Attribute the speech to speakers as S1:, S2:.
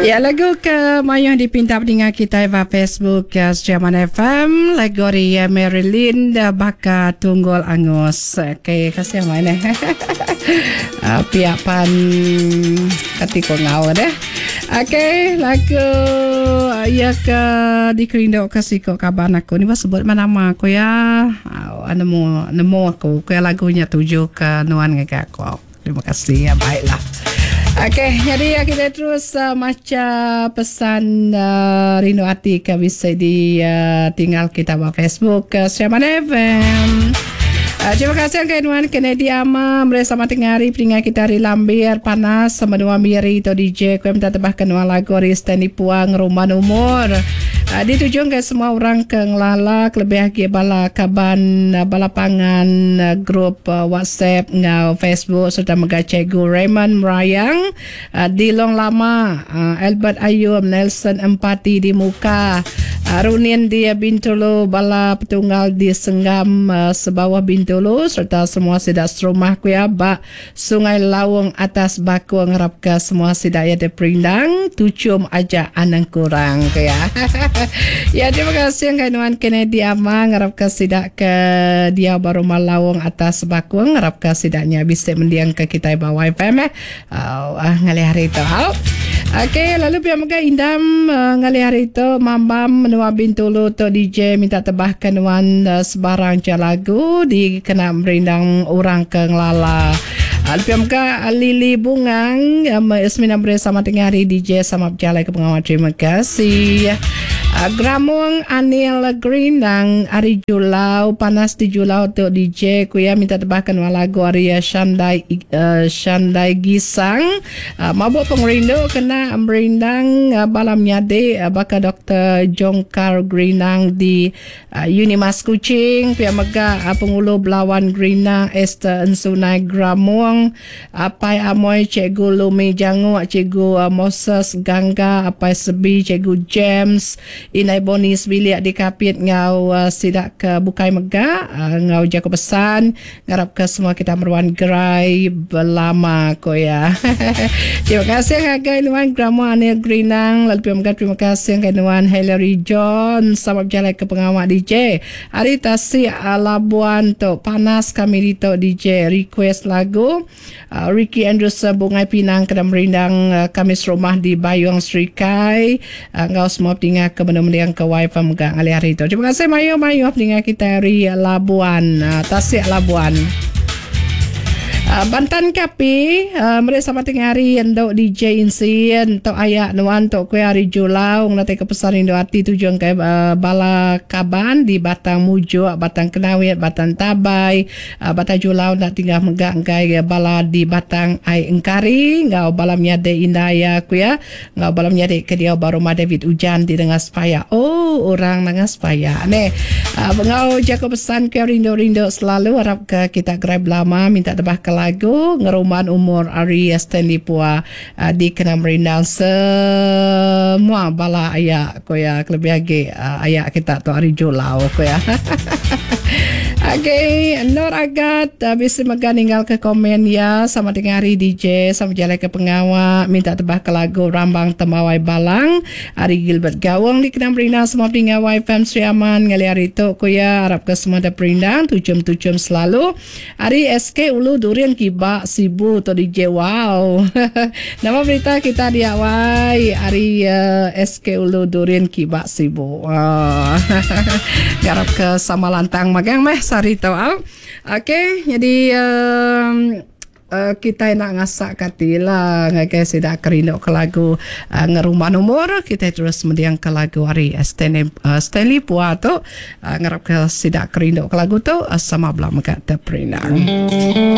S1: Ya lagu ke mayuh dipinta peninga kitai ba Facebook Sriaman FM lagu ari Marilyn baka tunggul angus. Okey kasih amai neh. Pia pan kati ko enggau deh. Okey lagu iya ke dikerindu ke siko kaban aku ni ba sebut meh nama aku iya. Nemu nemu aku ku iya lagu nya tuju ke nuan ngagai aku. Terima kasih ya baiklah. Okey, jadi ya kita terus uh, maca pesan uh, rindu ati ke bisa di uh, tinggal kita ba Facebook ke uh, Sriaman FM. Uh, terima kasih ke nuan Kennedy Ama meri sama tengah hari peninga kita hari lambir panas sama dua miri tu DJ ku minta tebah ke nuan lagu ari Stanley Puang Rumah Umur. Uh, ditujung ke semua orang ke ngelala kelebih agi bala kaban uh, bala pangan uh, grup WhatsApp enggau Facebook sereta mega Cikgu Raymond Merayang di Long Lama, Albert Ayum, Nelson Empati di Muka, Runin di Bintulu, bala petunggal di Senggam Sebawah Bintulu sereta semua sida serumah ku iya ba Sungai Laung Atas Bakong ngarapka semua sida iya diperindang tuchum aja anang kurang ku iya. Ya terima kasih ngagai nuan Kennedy Ama ngarapka sida ke diau ba Rumah Laung Atas Bakong ngarapka sida nya bisi mendingka kitai ba YFM eh ngalih hari tu. Au. Okey lalu pia mega Indam ngalih hari tu mambam menua Bintulu tu DJ minta tebahka nuan sebarang ja lagu dikena merindang orang ke ngelala. Lalu pia mega Lily Bungang semina beri sama tengah hari DJ sama bejalai ke pengawa terima kasih. Gramung Anil Gerindang ari Julau panas di Julau tu DJ ku iya minta tebahka nuan lagu ari Shandai Shandai Gisang. Mabuk pengerindu kena merindang bala menyadi baka Doktor Jongkar Gerinang di Unimas Kuching, pia mega Pengulu Belawan Gerinang Esther Ensunai Gramong, Apai Amoi Cikgu Lumi Janguk, Cikgu Moses Gangga, Apai Sebi Cikgu James, Indai Boni sebilik di Kapit enggau sida ke bukai mega enggau jaku pesan. Ngarap ke semua kita meruan gerai belama ko iya. Terima kasih ngagai nuan Grandma Anil Gerinang lalu pia mega terima kasih ngagai nuan Hillary John sama bejalai ke pengawa DJ. Ari tasik Labuan tu panas kami ditu DJ request lagu Ricky Andrews Bungai Pinang kena merindang kami serumah di Bayung Serikai enggau semua peninga ke benung mending ke wifi mega ngalih hari tu. Terima kasih mayuh-mayuh peninga kitai ari Labuan, Tasik Labuan. Bantan Kapi meri sama tengah hari endu DJ Insin tu aya nuan tu kuih ari Julau ngenatai ke pesan rindu ati tujung ke bala kaban di Batang Mujok, Batang Kenawit, Batang Tabai, Batang Julau enda tinggal mega enggai bala di Batang Ai Engkari enggau bala menyadi indai iya ku iya enggau bala menyadi ke diau ba rumah David Ujan di Nanga Sepaya. Oh orang Nanga Sepaya neh. Enggau jaku pesan ke rindu-rindu selalu arap ke kita gerai belama minta tebah ke lagu ngerumban umur ari Stanley Pua dikena merindang semua bala aya ku iya kelebih agi aya kita tu ari Julau ku iya. Okey Nur Agat bisi mega ninggalka komen iya sama tengah hari DJ sama bejalaika pengawa minta tebahka lagu Rambang Tembawai Balang ari Gilbert Gaung dikena merindang semua peninga YFM Sri Aman ngalih hari tu ku iya arapka semua dep perindang tuchum-tuchum selalu. Ari SK Ulu Durin Kiba Sibu tu DJ wow. Nama berita kita dia wai ari SK Ulu Durin Kiba Sibu. Ngarap ke sama lantang magang meh sehari tu au. Okey nyadi kitai enda ngasak ke ati lah ngagai sida ke rindu ke lagu ngerumban umur kitai terus mending ke lagu ari Stanley Stanley Pua tu. Ngarap ke sida ke rindu ke lagu tu sama bela mega teperindang.